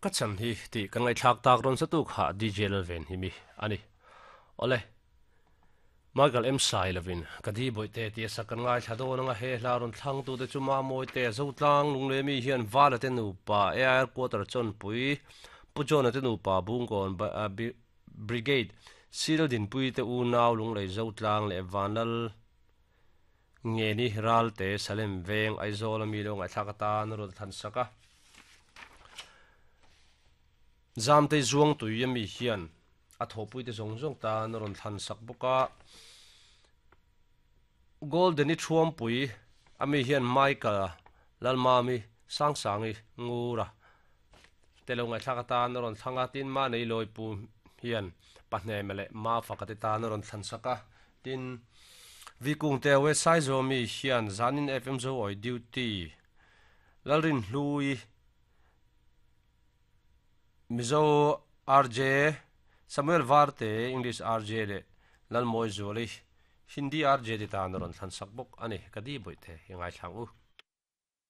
Ka chan hi tih kan ngaihthlak tak rawn sa tu kha DJ Lalven hi mi a ni. Awle. Michael M Sailovin ka di bawihte tia sak kan ngaithla dawn anga he hla rawn thlang tute chu Mamawite Zotlang Lunglemi hian Vala te nupa Air Quarter Chawnpui Pu John-a te nupa Bungkawn Brigade Sil Dinpui te unau Lunglei Zotlang leh Vanlal Ngeni Ralte Salem Veng Aizawl ami lo ngaihthlak atan a rawn thlan sak a. Zamtei Zuangtui ami hian a thawhpuite zawng zawng tan a rawn thlan sak bawk a. Golden-i Thuampui ami hian Michael Lalmami Sangsangi Ngura te lo ngaihthlak atan a rawn thlang a, tin Manei Lawipu hian Pahneme leh Mafaka te tan a rawn thlan sak a, tin Vikungte West Saizawmi hian Zanin FM Zoawi Duty Lalrinhlui Mizo RJ, Samuel Varte, English RJ leh Lalmawi Zuali, Hindi RJ te tan a rawn thlan sak bawk a ni. Ka di bawih te i ngaithlang u.